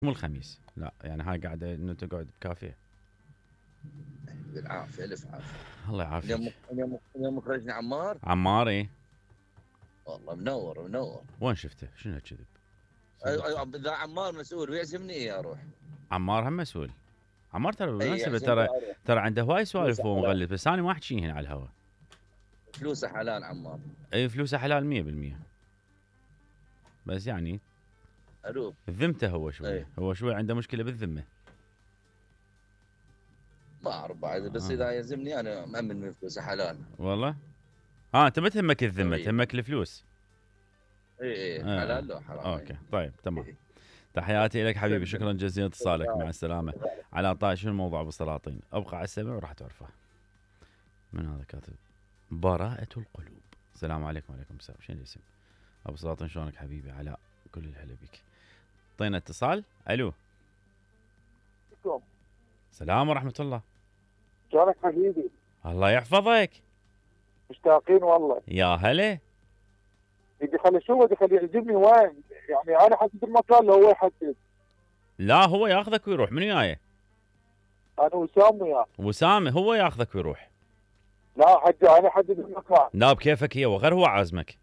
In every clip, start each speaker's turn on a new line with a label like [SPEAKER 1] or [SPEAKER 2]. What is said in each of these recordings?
[SPEAKER 1] مو الخميس، لا يعني هاي قاعده انه تقعد بكافيه.
[SPEAKER 2] بالعافيه الف عافيه.
[SPEAKER 1] الله يعافيك.
[SPEAKER 2] اليوم مخرجنا عمار.
[SPEAKER 1] عمار ايه.
[SPEAKER 2] والله منور منور.
[SPEAKER 1] وين شفته؟ شنو كذب؟
[SPEAKER 2] اذا عمار مسؤول ويعزمني ايه اروح.
[SPEAKER 1] عمار هم مسؤول. عمار ترى
[SPEAKER 2] اي
[SPEAKER 1] بالمناسبه
[SPEAKER 2] يعزمني
[SPEAKER 1] ترى
[SPEAKER 2] اروح.
[SPEAKER 1] ترى عنده هواي سوالف
[SPEAKER 2] فلوسه
[SPEAKER 1] وهو
[SPEAKER 2] حلال.
[SPEAKER 1] مغلف، بس انا ما احكي هنا على الهواء.
[SPEAKER 2] فلوسه حلال عمار.
[SPEAKER 1] اي فلوسه حلال 100%. بس يعني
[SPEAKER 2] الوف.
[SPEAKER 1] ذمته هو شويه،
[SPEAKER 2] اي
[SPEAKER 1] هو شويه عنده مشكله بالذمه.
[SPEAKER 2] ما اعرف بعد، بس اذا يعزمني انا مأمن من فلوسه حلال.
[SPEAKER 1] والله. انت ما تهمك الذمه،
[SPEAKER 2] حبيبي.
[SPEAKER 1] تهمك الفلوس.
[SPEAKER 2] اي
[SPEAKER 1] آه.
[SPEAKER 2] حلال لو حرام.
[SPEAKER 1] اوكي طيب تمام.
[SPEAKER 2] إيه.
[SPEAKER 1] تحياتي لك حبيبي،
[SPEAKER 2] سلم.
[SPEAKER 1] شكرا جزيلا اتصالك، مع السلامه. علاء طاي، شنو الموضوع بالسلاطين؟ ابقى على السمع وراح تعرفه. من هذا كاتب؟ براءة القلوب. السلام عليكم. وعليكم السلام. شنو الاسم؟ ابو سلاطين شلونك حبيبي علاء؟ كل الهلا بك. طينا اتصال. الو. السلام ورحمة الله.
[SPEAKER 3] شلونك حبيبي؟
[SPEAKER 1] الله يحفظك.
[SPEAKER 3] مشتاقين والله.
[SPEAKER 1] يا هلا.
[SPEAKER 3] يجي خلي شو بدي خليه يعجبني وين؟ يعني انا حدد المكان لو هو يحدد.
[SPEAKER 1] لا هو ياخذك ويروح، منو جاي؟
[SPEAKER 3] انا وسام وياه.
[SPEAKER 1] وسام هو ياخذك ويروح.
[SPEAKER 3] لا حجي انا حدد المكان.
[SPEAKER 1] لا بكيفك هي، وغير هو عازمك.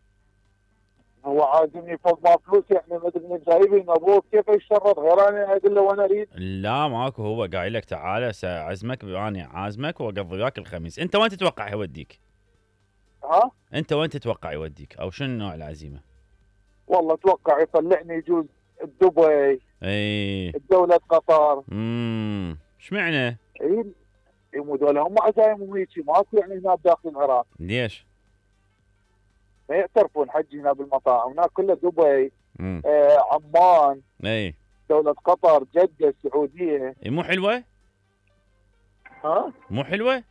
[SPEAKER 3] هو عازمني فوق ما فلوس، يعني ما ادري من جايبين ابوه كيف يشرط غير انا اقول له وانا اريد.
[SPEAKER 1] لا ماكو، هو قايل لك تعال ساعزمك، انا عازمك واقضي وياك الخميس. انت وين تتوقع يوديك؟
[SPEAKER 3] ها؟
[SPEAKER 1] انت وين تتوقع يوديك او شنو نوع العزيمه؟
[SPEAKER 3] والله اتوقع يطلعني يجوز دبي،
[SPEAKER 1] اي.
[SPEAKER 3] دولة قطر.
[SPEAKER 1] اشمعنى؟
[SPEAKER 3] اي مو دولة هم عزايمهم هيجي ماكو يعني هنا بداخل العراق.
[SPEAKER 1] ليش؟
[SPEAKER 3] ما يعترفون حجي هنا بالمطاعم، هناك كله دبي،
[SPEAKER 1] امم
[SPEAKER 3] عمان،
[SPEAKER 1] اي.
[SPEAKER 3] دولة قطر، جدة، السعودية.
[SPEAKER 1] مو حلوه؟
[SPEAKER 3] ها؟
[SPEAKER 1] مو حلوه؟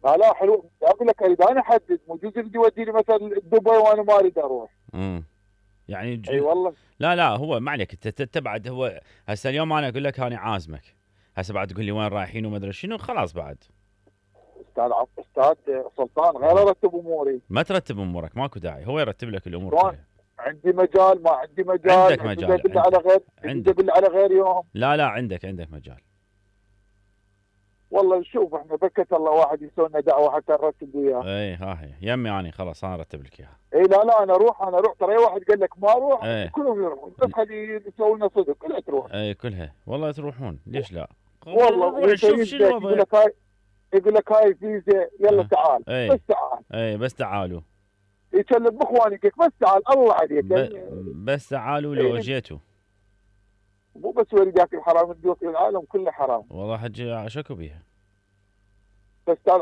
[SPEAKER 3] لا حلو، اقول لك اريد انا احدد، مو جزء بدي يوديني مثلا دبي وانا ما اريد اروح.
[SPEAKER 1] يعني
[SPEAKER 3] اي والله.
[SPEAKER 1] لا هو ما عليك، انت تبعد. هو هسه اليوم انا اقول لك انا عازمك، هسه بعد تقول لي وين رايحين وما ادري شنو، خلاص بعد.
[SPEAKER 3] استاذ سلطان غير ارتب اموري.
[SPEAKER 1] ما ترتب امورك، ماكو داعي، هو يرتب لك الامور
[SPEAKER 3] شلون؟
[SPEAKER 1] كلها.
[SPEAKER 3] عندي مجال ما عندي مجال،
[SPEAKER 1] عندك مجال،
[SPEAKER 3] يدل على غير، يدل على غير يوم.
[SPEAKER 1] لا عندك مجال.
[SPEAKER 3] والله نشوف احنا بكت الله واحد يسوي لنا دعوه حتى نرتب وياه.
[SPEAKER 1] اي ها هي يمي، اني خلاص انا ارتب لك اياها.
[SPEAKER 3] اي لا انا اروح ترى اي واحد قال لك ما اروح
[SPEAKER 1] ايه.
[SPEAKER 3] كلهم يروحون، بس خلي يسوي لنا صدق كلها تروح.
[SPEAKER 1] اي كلها والله تروحون، ليش لا؟
[SPEAKER 3] والله
[SPEAKER 1] شوف شنو الوضع.
[SPEAKER 3] يقول لك هاي فيزا يلا تعال. بس تعال.
[SPEAKER 1] اي بس تعالوا.
[SPEAKER 3] يكلم باخوانك بس تعال الله عليك.
[SPEAKER 1] بس تعالوا لو جيتوا.
[SPEAKER 3] مو بس ورد ياكل حرام، الدوق العالم كله حرام.
[SPEAKER 1] والله حجي شكو بيها.
[SPEAKER 3] فستان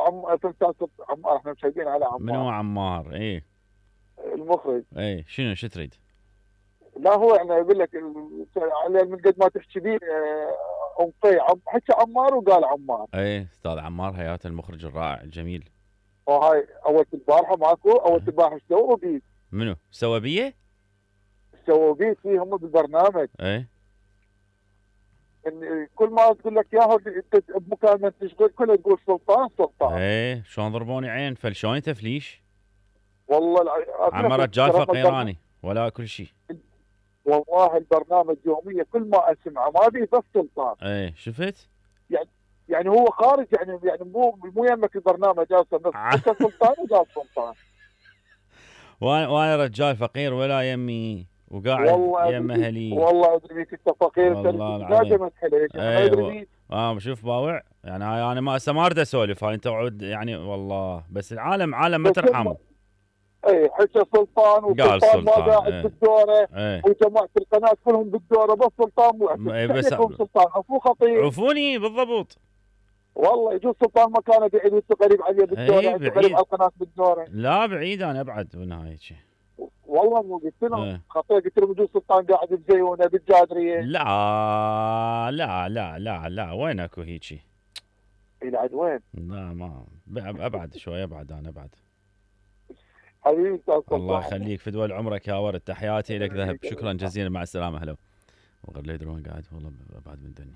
[SPEAKER 3] عمار احنا مشاهدين على عمار.
[SPEAKER 1] منو عمار؟ ايه
[SPEAKER 3] المخرج.
[SPEAKER 1] ايه شنو شو تريد؟
[SPEAKER 3] لا هو يعني يقول لك على من قد ما تحكي بيه حكى عمار وقال عمار.
[SPEAKER 1] ايه استاذ عمار حياته، المخرج الرائع الجميل.
[SPEAKER 3] وهاي اول البارحه ماكو، اول البارحه ايش سووا بيه؟
[SPEAKER 1] منو سوى بيه؟
[SPEAKER 3] سووا بيه هم بالبرنامج.
[SPEAKER 1] ايه
[SPEAKER 3] إن كل ما تقول لك ياهو انت بمكالمه تشغل كلها تقول سلطان.
[SPEAKER 1] ايه شلون ضربوني عين فلشوني تفليش.
[SPEAKER 3] والله
[SPEAKER 1] عم رجال فقيراني ولا كل شيء.
[SPEAKER 3] والله البرنامج يوميا كل ما اسمعه ما بي بس سلطان.
[SPEAKER 1] ايه شفت؟
[SPEAKER 3] يعني هو خارج، يعني مو يمك البرنامج جالس بس سلطان وجالس سلطان.
[SPEAKER 1] وانا رجال فقير ولا يمي وقاعد يم اهلي.
[SPEAKER 3] والله ادري بيك انت فقير،
[SPEAKER 1] والله العظيم.
[SPEAKER 3] ايه
[SPEAKER 1] شوف باوع يعني انا ما اريد اسولف، هاي انت يعني والله بس العالم عالم ما ترحموا.
[SPEAKER 3] اي حكى سلطان، وسلطان ما قاعد بالدوره. وجماعه القناه كلهم بالدوره بس سلطان مو
[SPEAKER 1] بس
[SPEAKER 3] سلطان عفو خطير.
[SPEAKER 1] عفوني بالضبط.
[SPEAKER 3] والله يجوز سلطان مكانه بعيد وانت قريب عليه بالدوره، انت قريب على القناه بالدوره.
[SPEAKER 1] لا بعيد، انا ابعد بالنهايه شيء.
[SPEAKER 3] والله مو قلت له خطير، قلت له بجوز سلطان قاعد بزيونه بالجادريه.
[SPEAKER 1] لا وين اكو هيجي؟
[SPEAKER 3] يلعب وين؟
[SPEAKER 1] لا ما ابعد شوي، انا ابعد.
[SPEAKER 3] حبيبي
[SPEAKER 1] الله يخليك، في دول عمرك يا ورد، تحياتي لك ذهب، شكرا جزيلا، مع السلامه. هلا وغير لا يدرون قاعد والله ابعد من دني.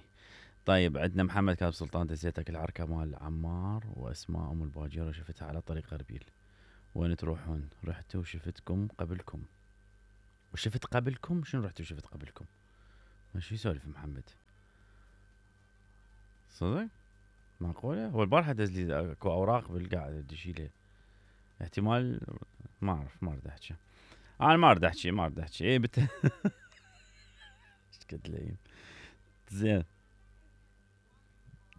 [SPEAKER 1] طيب عندنا محمد كاتب سلطان دزيتك العركه مال عمار واسماء ام الباجيره شفتها على طريق اربيل، وين تروحون؟ رحتوا وشفتكم قبلكم. وشفت قبلكم؟ شنو رحتوا وشفت قبلكم؟ شو يسولف محمد؟ صدق؟ معقولة؟ هو البارحة دز لي اكو اوراق بالقاعدة بدي اشيلها. احتمال ما اعرف، ما اريد احكي. انا ما اريد احكي. اي ايش قد لين. زين.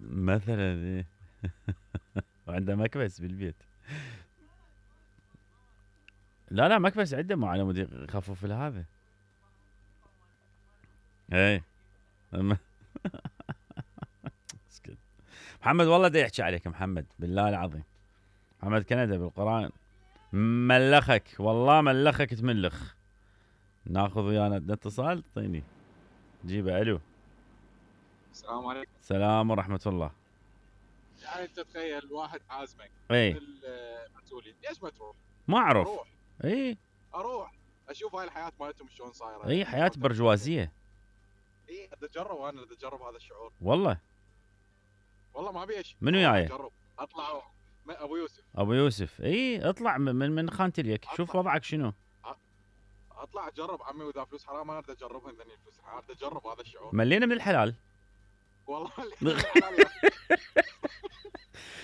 [SPEAKER 1] مثلا ايه. وعنده مكبس بالبيت. لا مكبس عنده، مو على مود يخفف هذا. اي اسكت. محمد والله دا يحكي عليك محمد، بالله العظيم. محمد كندا بالقرآن ملخك، والله ملخك تملخ. ناخذ ويانا اتصال، اعطيني جيبه. الو.
[SPEAKER 4] السلام عليكم.
[SPEAKER 1] السلام ورحمة الله.
[SPEAKER 4] يعني انت تخيل واحد عازمك
[SPEAKER 1] اي
[SPEAKER 4] المسؤولين، ليش ما تروح؟
[SPEAKER 1] ما اعرف.
[SPEAKER 4] اروح اروح اشوف هاي الحياه مالتهم شلون صايره.
[SPEAKER 1] اي حياة برجوازية.
[SPEAKER 4] اي بدي اجرب، انا بدي اجرب هذا الشعور.
[SPEAKER 1] والله
[SPEAKER 4] ما ابي ايش.
[SPEAKER 1] منو جاي؟
[SPEAKER 4] اجرب اطلع
[SPEAKER 1] ابو يوسف. اي اطلع من خانة اليك، شوف وضعك شنو.
[SPEAKER 4] اطلع اجرب عمي، واذا فلوس حرام ما اريد اجربها، ذني الفلوس اريد اجرب هذا الشعور.
[SPEAKER 1] ملينا من الحلال.
[SPEAKER 4] والله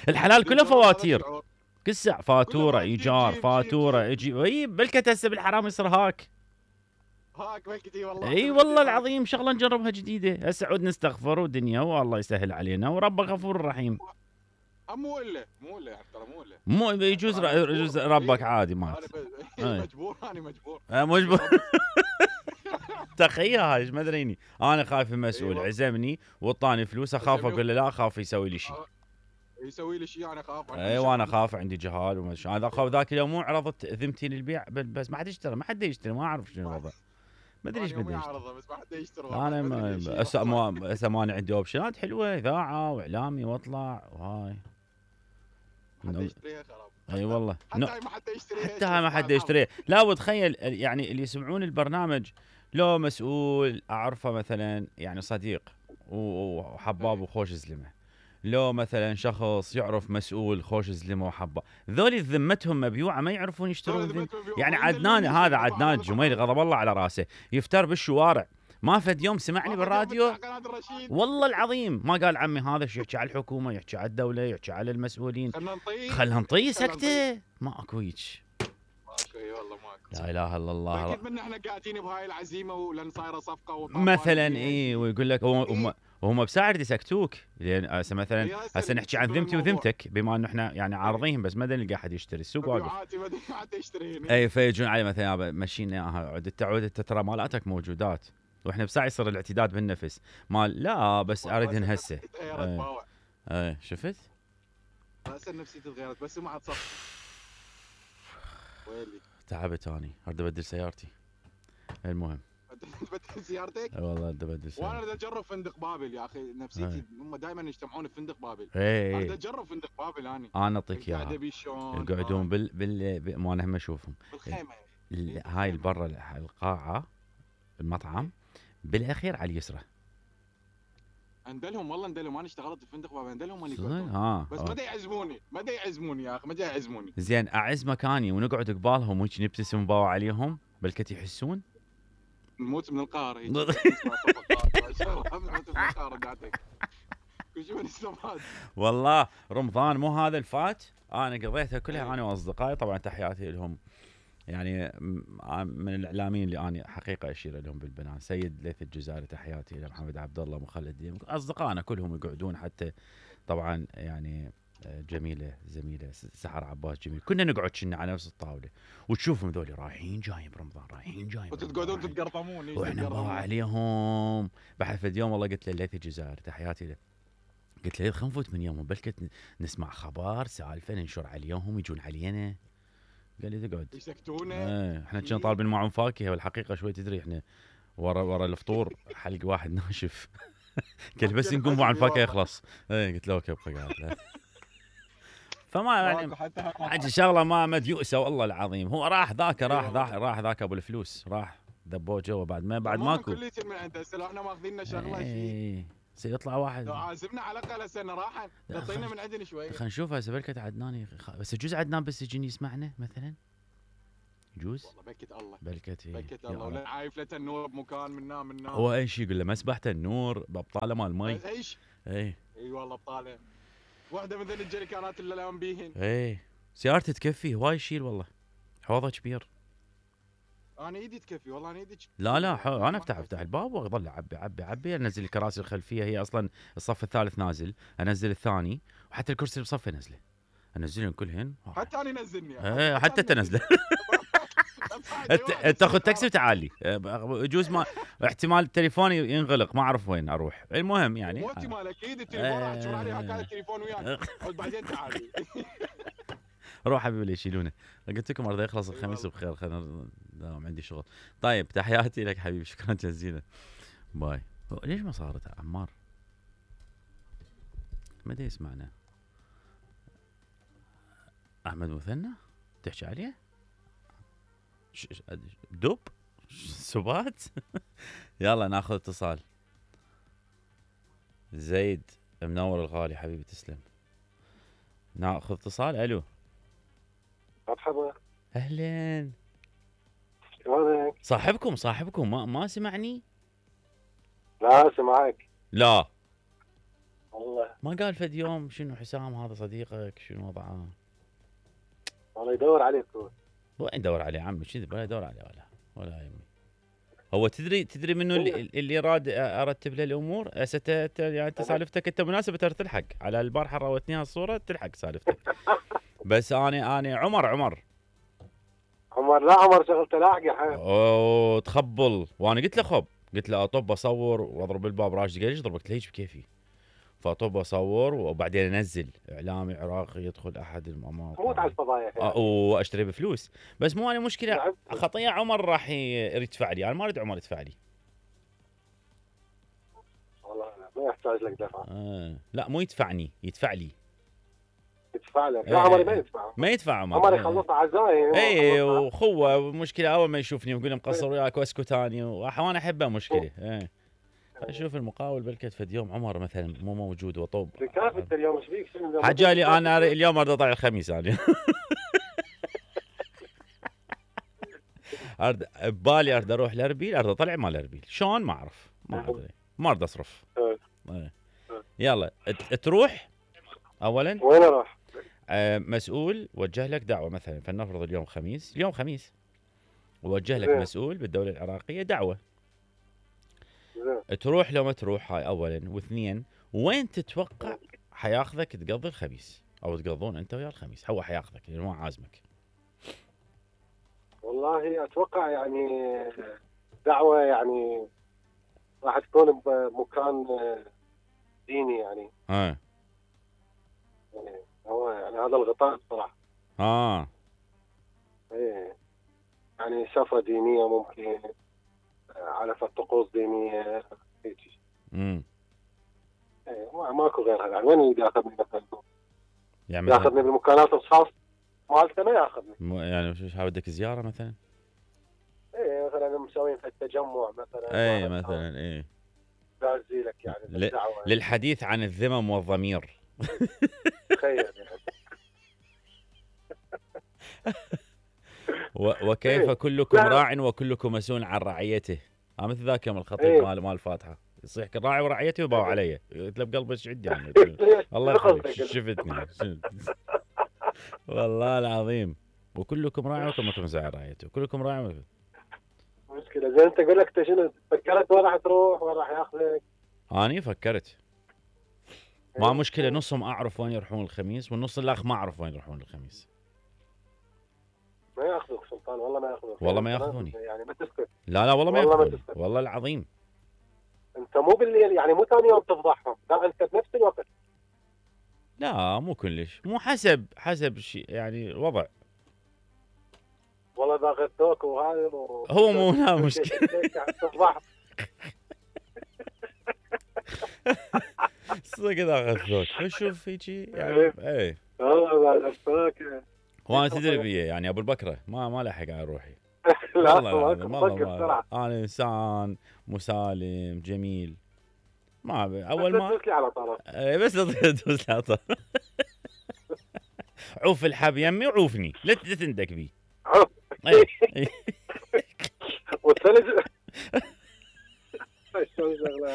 [SPEAKER 1] الحلال كله فواتير، كل ساعة فاتورة ايجار، فاتورة يجي. اي بلكت هسه بالحرام يصير هاك
[SPEAKER 4] بلكتي والله.
[SPEAKER 1] اي والله العظيم شغله نجربها جديده. هسه عود نستغفر ودنيا، والله يسهل علينا، وربك غفور رحيم.
[SPEAKER 4] مو الا يعني ترى
[SPEAKER 1] مو يجوز ربك عادي مات.
[SPEAKER 4] مجبور.
[SPEAKER 1] مجبور. تخيل هاي ما ادريني، انا خايف المسؤول عزمني وطاني فلوس، اخاف اقول له لا، اخاف يسوي لي شيء.
[SPEAKER 4] انا اخاف.
[SPEAKER 1] وانا اخاف عندي جهال وما ادري. انا اخاف ذاك اليوم مو عرضت ذمتي للبيع، بس ما حد يشتري، ما اعرف شنو الوضع. ما ادري ايش بدي اشتري.
[SPEAKER 4] بس ما حد يشتري.
[SPEAKER 1] انا هسه ماني عندي اوبشنات حلوه، اذاعه واعلامي واطلع وهاي.
[SPEAKER 4] حد يشتريها خراب.
[SPEAKER 1] اي والله.
[SPEAKER 4] حتى هاي ما حد يشتريها.
[SPEAKER 1] حتى هاي ما حد يشتريها. لا وتخيل يعني اللي يسمعون البرنامج، لو مسؤول اعرفه مثلا، يعني صديق وحباب وخوش زلمه، لو مثلا شخص يعرف مسؤول خوش زلمه وحبه، ذولي ذمتهم مبيوعه، ما يعرفون يشترون. يعني عدنان، هذا عدنان الجميلي غضب الله على راسه، يفتر بالشوارع. ما فد يوم سمعني بالراديو والله العظيم ما قال عمي هذا شو يحكي على الحكومه، يحكي على الدوله، يحكي على المسؤولين. خلنا نطي سكته. ماكو هيك.
[SPEAKER 4] والله ماكو.
[SPEAKER 1] لا اله الا الله.
[SPEAKER 4] اكيد احنا قاعدين بهاي العزيمه ولان صايره صفقه
[SPEAKER 1] مثلا. اي ويقول لك وهم بساعة يسكتوك، لان هسه مثلا هسه نحكي عن ذمتي وذمتك، بما انه احنا يعني عارضينهم، بس ما نلقى احد يشتري، السوق واقف. اي فيجون علي مثلا مشينا اياها، عدت ترى مالاتك موجودات، واحنا بساعة يصير الاعتداد بالنفس مال لا بس اريدهن هسه. اي شفت؟
[SPEAKER 4] هسه نفسيتي تغيرت بس ما عاد صف. ويلي
[SPEAKER 1] تعبت اني، اريد ابدل سيارتي. المهم
[SPEAKER 4] تبدل سيارتك؟
[SPEAKER 1] اي والله اريد ابدل سيارتي.
[SPEAKER 4] وانا اريد اجرب فندق بابل يا اخي، نفسيتي هم دائما يجتمعون بفندق بابل.
[SPEAKER 1] اريد
[SPEAKER 4] اجرب فندق بابل. انا
[SPEAKER 1] اعطيك اياها. يقعدون ما انا هم اشوفهم
[SPEAKER 4] بالخيمه.
[SPEAKER 1] هاي برا القاعه المطعم بالاخير على اليسرى.
[SPEAKER 4] اندلهم والله انا اشتغلت بفندق بابل، اندلهم بس ما يعزموني يا اخي، ما يعزموني.
[SPEAKER 1] زين اعز مكاني ونقعد قبالهم وهيك نبتسم ونباوع عليهم، بلكت يحسون
[SPEAKER 4] نموت من القهر هيك. كل شيء من السماد.
[SPEAKER 1] والله رمضان مو هذا الفات انا قضيتها كلها انا واصدقائي، طبعا تحياتي لهم، يعني من الاعلاميين اللي انا حقيقه اشير لهم بالبنان، سيد ليث الجزائري تحياتي الى محمد عبد الله مخلد، اصدقائنا كلهم يقعدون، حتى طبعا يعني جميله زميله سحر عباس جميل، كنا نقعد كنا على نفس الطاوله وتشوفهم ذولي رايحين جايين برمضان، رايحين جايين
[SPEAKER 4] وتقعدون تتقرطمون
[SPEAKER 1] واحنا نباوع عليهم. بعد فد يوم والله قلت له ليث الجزائري تحياتي له، قلت له خلينا نفوت من يومهم بلكت نسمع خبر سالفه ننشر عليهم يجون علينا. قال لي تقعد
[SPEAKER 4] يسكتونه.
[SPEAKER 1] احنا كنا طالبين معهم فاكهه، والحقيقه شوي تدري احنا ورا الفطور حلق واحد ناشف. قال بس نقوم عن فاكهه يخلص. قلت له اوكي ابقى قاعد. فما يعني حاجه شغله ما مديوسه والله العظيم. هو راح ذاك ابو الفلوس راح ذبوه جوا بعد ماكو.
[SPEAKER 4] كليتين من عنده هسه، لو احنا ماخذين شغله شيء
[SPEAKER 1] سيطلع واحد.
[SPEAKER 4] لو عازمنا على الاقل هسه راح تعطينا من عندنا شويه.
[SPEAKER 1] خلينا نشوف هسه بلكت عدنان بس يجوز عدنان بس يجيني يسمعنا مثلا، جوز
[SPEAKER 4] والله بكت الله
[SPEAKER 1] بلكت
[SPEAKER 4] بكت الله ولا عايفله النور بمكان من
[SPEAKER 1] هو اي شيء يقول له مسبحته النور بابطاله مال مي
[SPEAKER 4] اي شيء اي والله بطاله واحده من ذي الجريكانات اللي لهم بيهن
[SPEAKER 1] سيارتي تكفي هواي يشيل والله حوضه كبير
[SPEAKER 4] انا ايدي تكفي والله انا ايدي
[SPEAKER 1] لا انا افتح الباب واظل اعبي انزل الكراسي الخلفيه هي اصلا الصف الثالث نازل انزل الثاني وحتى الكرسي اللي بصفه انزلهم كلهن
[SPEAKER 4] حتى انا نزلني
[SPEAKER 1] حتى تنزله تاخذ تاكسي وتعالي يجوز ما احتمال التليفون ينغلق ما اعرف وين اروح المهم يعني
[SPEAKER 4] مو احتمال اكيد التليفون راح تشوف عليه هكذا التليفون وياك بعدين تعالي
[SPEAKER 1] روح حبيبي اللي يشيلونه قلت لكم ارضى يخلص الخميس بخير خلينا عندي شغل طيب تحياتي لك حبيبي شكرا جزيلا باي ليش ما صارت عمار ما ادري يسمعنا احمد مثنى تحكي عليه دب سبات يلا ناخذ اتصال زيد منور الغالي حبيبي تسلم ناخذ اتصال الو
[SPEAKER 5] مرحبا
[SPEAKER 1] اهلين
[SPEAKER 5] شلونك؟
[SPEAKER 1] صاحبكم ما سمعني؟
[SPEAKER 5] لا سمعك
[SPEAKER 1] لا
[SPEAKER 5] والله
[SPEAKER 1] ما قال فد يوم شنو حسام هذا صديقك شنو وضعه؟
[SPEAKER 5] والله يدور عليك هو
[SPEAKER 1] وين يدور عليه عمي شنو ولا يدور عليه ولا يمي هو تدري منو اللي ارتب له الامور يعني انت سالفتك انت مناسبه ترى تلحق على البارحه راوتني الصوره تلحق سالفتك بس انا عمر
[SPEAKER 5] لا عمر شغلته لاحقه حيل
[SPEAKER 1] اوه تخبل وانا قلت له اطب اصور واضرب الباب راشد قال ليش ضربك ليش بكيفي فاطب اصور وبعدين انزل اعلامي عراقي يدخل احد المناطق
[SPEAKER 5] موت على الفضايح يعني.
[SPEAKER 1] واشتري بفلوس بس مو انا مشكله خطيه عمر راح يدفع لي انا ما اريد عمر يدفع لي
[SPEAKER 5] والله ما يحتاج لك دفع
[SPEAKER 1] لا مو يدفعني يدفع لي
[SPEAKER 5] يدفع لك لا عمر ما يدفع
[SPEAKER 1] عمر
[SPEAKER 5] يخلص عزايم
[SPEAKER 1] اي وخوه مشكله اول ما يشوفني يقول مقصر وياك واسكت اني وانا احبه مشكله اشوف المقاول بلكت فد يوم عمر مثلا مو موجود وطوب
[SPEAKER 5] كيف انت اليوم ايش بيك شنو
[SPEAKER 1] حجالي انا اليوم اريد اطلع الخميس انا ببالي اريد اروح لاربيل اريد اطلع مال اربيل شلون ما اعرف ما ادري ما اريد اصرف يلا تروح اولا
[SPEAKER 5] وين اروح
[SPEAKER 1] مسؤول وجه لك دعوه مثلا فلنفرض اليوم خميس ووجه لك مسؤول بالدوله العراقيه دعوه تروح لو ما تروح هاي اولا واثنين وين تتوقع حياخذك تقضي الخميس او تقضون انت ويا الخميس هو حياخذك لانه ما عازمك
[SPEAKER 5] والله اتوقع يعني دعوه يعني راح تكون بمكان ديني يعني هو يعني هذا الغطاء بصراحه ايه يعني سفره دينيه ممكن على طقوس دينيه هيك ايه ماكو غيرها يعني وين اللي ياخذني مثلا يعني ياخذني بالمكانات الخاص مالته ما ياخذني
[SPEAKER 1] يعني شو بدك زياره مثلا
[SPEAKER 5] ايه مثلا مسوين في التجمع مثلا
[SPEAKER 1] ايه مثلا ايه
[SPEAKER 5] دازي لك يعني بالدعوه
[SPEAKER 1] للحديث عن الذمم والضمير
[SPEAKER 5] تخيل يعني
[SPEAKER 1] وكيف كلكم راع وكلكم مسؤول عن رعيته مثل ذاك يوم الخطيب مال الفاتحه يصيح راعي ورعيتي وباو علي قلت له بقلبي ايش عندي يعني الله يخليك شفتني والله العظيم وكلكم راع وكلكم مسؤول عن رعيته وكلكم راع
[SPEAKER 5] مشكله زين انت اقول لك انت شنو فكرت وين راح تروح وين راح ياخذك
[SPEAKER 1] اني فكرت ما مشكله نصهم اعرف وين يروحون الخميس والنص الاخ ما اعرف وين يروحون الخميس
[SPEAKER 5] ما ياخذوك سلطان والله ما ياخذوك
[SPEAKER 1] والله ما ياخذوني
[SPEAKER 5] يعني ما تسكت
[SPEAKER 1] لا والله ما ياخذوني والله العظيم
[SPEAKER 5] انت مو بالليل يعني مو ثاني يوم تفضحهم لا انت بنفس الوقت
[SPEAKER 1] لا مو كلش مو حسب شيء يعني الوضع
[SPEAKER 5] والله اذا غثوك وهذا
[SPEAKER 1] هو مو لا مشكله صدق اذا غثوك شوف هيجي يعني ايه
[SPEAKER 5] والله اذا غثوك
[SPEAKER 1] وانا تدري بيه يعني ابو البكره ما لحق على روحي
[SPEAKER 5] لا
[SPEAKER 1] والله انا انسان مسالم جميل ما اول ما
[SPEAKER 5] تدوس لي على طرف
[SPEAKER 1] بس تدوس لي على طرف عوف الحب يمي وعوفني لا تندك بي
[SPEAKER 5] والثلج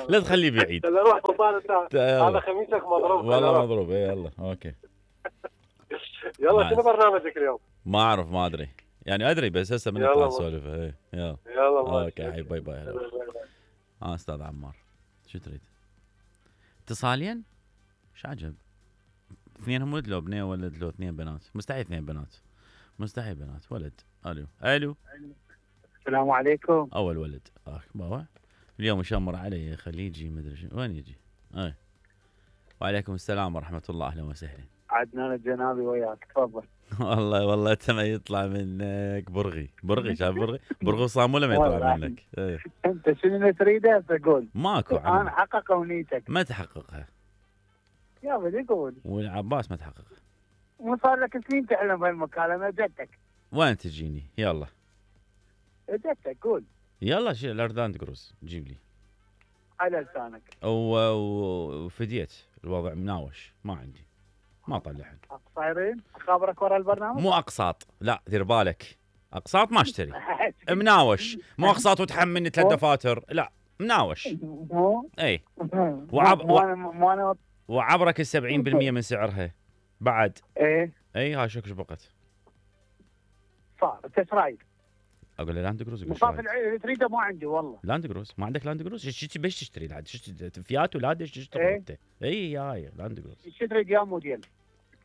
[SPEAKER 1] لا تخليه بعيد.
[SPEAKER 5] خلينا نروح سلطان انت. هذا خميسك مضروب.
[SPEAKER 1] والله مضروب. يلا اوكي.
[SPEAKER 5] يلا شنو برنامجك اليوم؟
[SPEAKER 1] ما اعرف ما ادري يعني ادري بس هسه من نطلع نسولف. يلا اوكي باي باي. استاذ عمار شو تريد؟ اتصالين؟ شو عجب؟ اثنينهم ولد لو بنيه ولد لو اثنين بنات؟ مستحيل اثنين بنات. مستحيل بنات. ولد. الو
[SPEAKER 6] السلام عليكم.
[SPEAKER 1] اول ولد. بابا اليوم يشمر علي خليجي مدري شو وين يجي. وعليكم السلام ورحمه الله. اهلا وسهلا.
[SPEAKER 6] عدنان الجنابي وياك تفضل.
[SPEAKER 1] والله انت ما يطلع منك برغي شايف برغي صاموله ما يطلع منك.
[SPEAKER 6] انت شنو تريده تقول؟
[SPEAKER 1] ماكو
[SPEAKER 6] انا حقق امنيتك.
[SPEAKER 1] ما تحققها
[SPEAKER 6] يا بدي قول.
[SPEAKER 1] والعباس ما تحققها.
[SPEAKER 6] مو صار لك سنين تحلم بهالمكالمه جدك.
[SPEAKER 1] وين تجيني؟ يلا
[SPEAKER 6] جدك قول.
[SPEAKER 1] يلا شيل الاردان كروز جيب لي
[SPEAKER 6] على لسانك.
[SPEAKER 1] وفديت الوضع مناوش ما عندي ما طلعن.
[SPEAKER 6] صايرين اخابرك ورا البرنامج.
[SPEAKER 1] مو اقساط لا دير بالك. اقساط ما اشتري. مناوش مو اقساط وتحملني 3 دفاتر لا مناوش. اي وعبرك 70% من سعرها بعد. اي هاي شكش بقت
[SPEAKER 6] صار. انت ايش رايك؟
[SPEAKER 1] اقول له لاند كروز.
[SPEAKER 6] مصاف اللي تريده ما عندي والله.
[SPEAKER 1] لاند كروز ما عندك لاند كروز؟ ايش بيش تشتري العاد؟ فيات ولا ايش تشتري انت؟ اي هاي لاند كروز.
[SPEAKER 6] ايش تريد يا موديل؟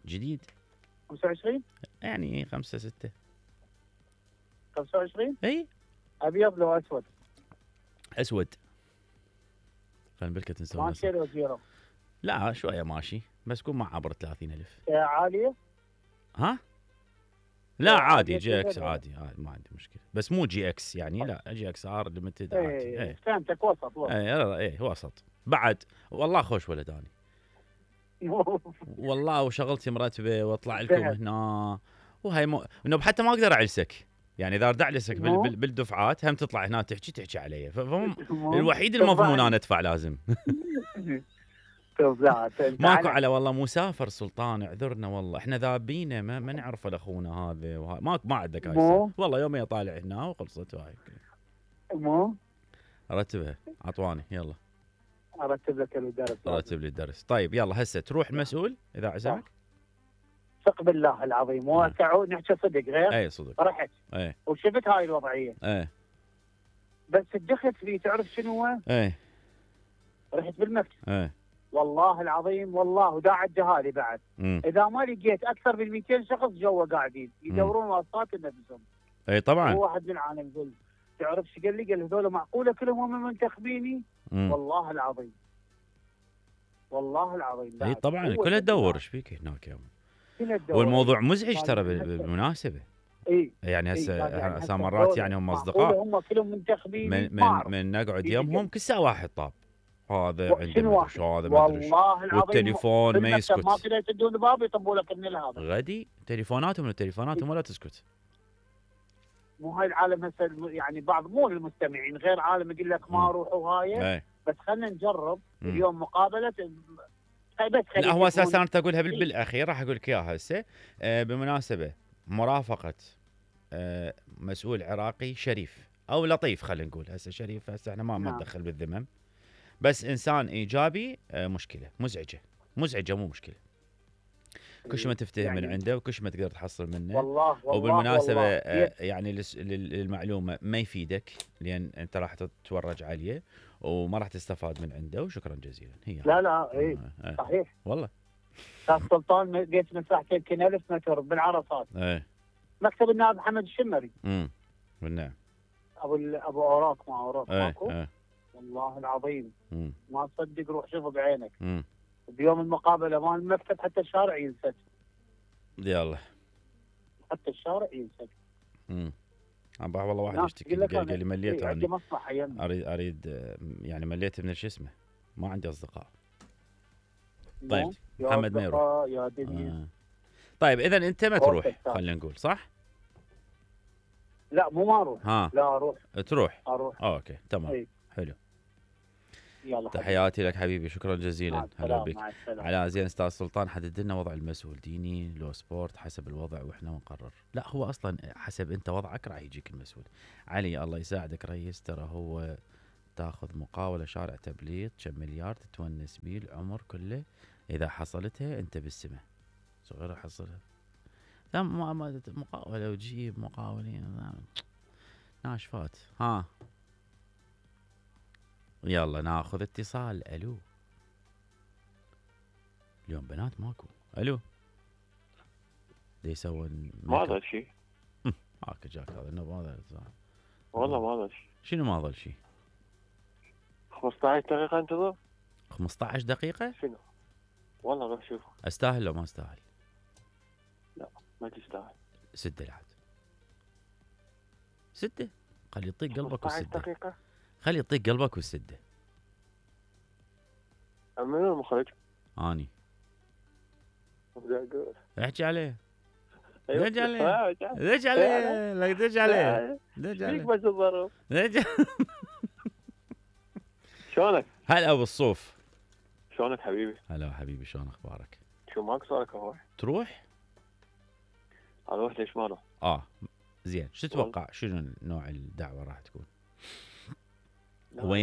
[SPEAKER 1] جديد
[SPEAKER 6] 25
[SPEAKER 1] يعني 5 6
[SPEAKER 6] 25.
[SPEAKER 1] اي
[SPEAKER 6] ابيض لو اسود؟
[SPEAKER 1] اسود. خلينا بالكت نسوي
[SPEAKER 6] ماشي لو زيرو؟
[SPEAKER 1] لا شويه ماشي بس كون ما عبر 30,000.
[SPEAKER 6] عاليه؟
[SPEAKER 1] ها؟ لا عادي جي اكس عادي ما عندي مشكله بس مو جي اكس يعني لا جي اكس ار ليمتد عادي.
[SPEAKER 6] فهمتك وسط.
[SPEAKER 1] وسط بعد. والله خوش ولد اني والله وشغلتي مرتبه واطلع لكم هنا وهي حتى ما اقدر اعلسك يعني اذا ارد اعلسك بالدفعات هم تطلع هنا تحكي علي الوحيد المضمون انا ادفع لازم. ماكو على والله مسافر سلطان اعذرنا والله احنا ذابينه ما نعرف اخونا هذا ما عندك هاي والله يومين طالع هنا وخلصت هاي. رتبها عطواني يلا
[SPEAKER 6] ارتب لك الدرس.
[SPEAKER 1] رتب لي الدرس. طيب يلا هسه تروح المسؤول اذا عزمك.
[SPEAKER 6] ثق بالله العظيم وتعود نحكي صدق غير.
[SPEAKER 1] اي صدق.
[SPEAKER 6] رحت وشفت هاي الوضعيه. بس الدخلت فيه تعرف شنو هو؟ رحت بالمكتب. والله العظيم والله وداعي الجهالي بعد. اذا ما لقيت اكثر من 200 شخص جوا قاعدين يدورون واسطات لنفسهم.
[SPEAKER 1] طبعا.
[SPEAKER 6] هو واحد من العالم يقول تعرف ايش قال لي؟ قال هذول معقوله كلهم هم منتخبيني؟ والله العظيم والله العظيم.
[SPEAKER 1] اي طبعا كلها تدور ايش فيك هناك يوم. والموضوع مزعج ترى بالمناسبه. يعني هسه مرات يعني هم اصدقاء
[SPEAKER 6] هم كلهم منتخبين
[SPEAKER 1] من نقعد يمهم كل ساعه واحد طاب هذا عنده مدري هذا
[SPEAKER 6] والله العظيم
[SPEAKER 1] والتليفون ما يسكت.
[SPEAKER 6] ما تقدر تدون باب يطبوا لك من هذا
[SPEAKER 1] غدي تليفوناتهم ولا تسكت.
[SPEAKER 6] مو هاي العالم هسه يعني بعض مو المستمعين غير عالم يقول لك ما اروح وهاي بس خلينا نجرب اليوم مقابله.
[SPEAKER 1] لا هو اساسا انا اقولها بالاخير راح اقول لك اياها هسه. بمناسبه مرافقه مسؤول عراقي شريف او لطيف خلينا نقول هسه شريف هسه احنا ما ندخل بالذمم بس انسان ايجابي. مشكله مزعجه مو مشكله. كل ما تفتهم يعني من عنده وكل ما تقدر تحصل منه.
[SPEAKER 6] والله
[SPEAKER 1] وبالمناسبه يعني للمعلومه ما يفيدك لان انت راح تتورج عليه وما راح تستفاد من عنده وشكرا جزيلا. هي
[SPEAKER 6] لا صحيح والله. استاذ سلطان بيت مساحته يمكن 1000 متر بالعرصات. مكتب النائب محمد الشمري.
[SPEAKER 1] بالنعم.
[SPEAKER 6] ابو اوراق ما اوراق ماكو. والله العظيم ما تصدق روح شوفه بعينك. بيوم المقابله مال المكتب حتى الشارع ينسد.
[SPEAKER 1] يلا
[SPEAKER 6] حتى الشارع ينسد.
[SPEAKER 1] والله واحد يشتكي قال لي مليت
[SPEAKER 6] عندي مصلحه
[SPEAKER 1] اريد يعني مليت من شو اسمه ما عندي اصدقاء. طيب محمد ما يروح
[SPEAKER 6] يا دنيا.
[SPEAKER 1] طيب اذا انت ما تروح خلينا نقول صح؟
[SPEAKER 6] لا مو ما اروح. لا اروح.
[SPEAKER 1] تروح؟
[SPEAKER 6] اروح.
[SPEAKER 1] اوكي تمام. حلو. تحياتي لك حبيبي، شكرا جزيلا. هلا بك. على زين استاذ سلطان حدد لنا وضع المسؤول ديني لو سبورت حسب الوضع واحنا نقرر. لا هو اصلا حسب انت وضعك راح يجيك المسؤول. علي الله يساعدك ريس، ترى هو تاخذ مقاولة شارع تبليط كم مليار تتونس بيه العمر كله، اذا حصلتها انت بالسماء. صغيرة حصلها. لا مقاولة وجيب مقاولين ناشفات. ها يلا ناخذ اتصال. الو اليوم بنات ماكو. الو دي يسوون
[SPEAKER 5] ما ظل شيء.
[SPEAKER 1] هاك جاك هذا انه ما
[SPEAKER 5] والله ما ظل شيء.
[SPEAKER 1] شنو ما ظل شيء؟
[SPEAKER 5] 15 دقيقة انتظر.
[SPEAKER 1] 15 دقيقة؟
[SPEAKER 5] شنو؟ والله روح شوف.
[SPEAKER 1] استاهل لو ما استاهل؟
[SPEAKER 5] لا ما تستاهل.
[SPEAKER 1] سده العاد. سده. خلي يطيق قلبك
[SPEAKER 5] 15
[SPEAKER 1] والسده.
[SPEAKER 5] دقيقة.
[SPEAKER 1] خلي يطيق قلبك والسده.
[SPEAKER 5] منو المخرج؟
[SPEAKER 1] اني.
[SPEAKER 5] اقول.
[SPEAKER 1] احكي عليه. دج عليه. دج عليه. لا دج عليه. دج عليه.
[SPEAKER 5] فيك بس الظروف. شلونك؟
[SPEAKER 1] هلا ابو الصوف.
[SPEAKER 5] شلونك حبيبي؟
[SPEAKER 1] هلا حبيبي شلون اخبارك؟
[SPEAKER 5] شو ماك صارك اروح؟
[SPEAKER 1] تروح؟
[SPEAKER 5] اروح ليش ما اروح؟
[SPEAKER 1] زين، شو تتوقع شنو نوع الدعوه راح تكون؟
[SPEAKER 5] لا.
[SPEAKER 1] وين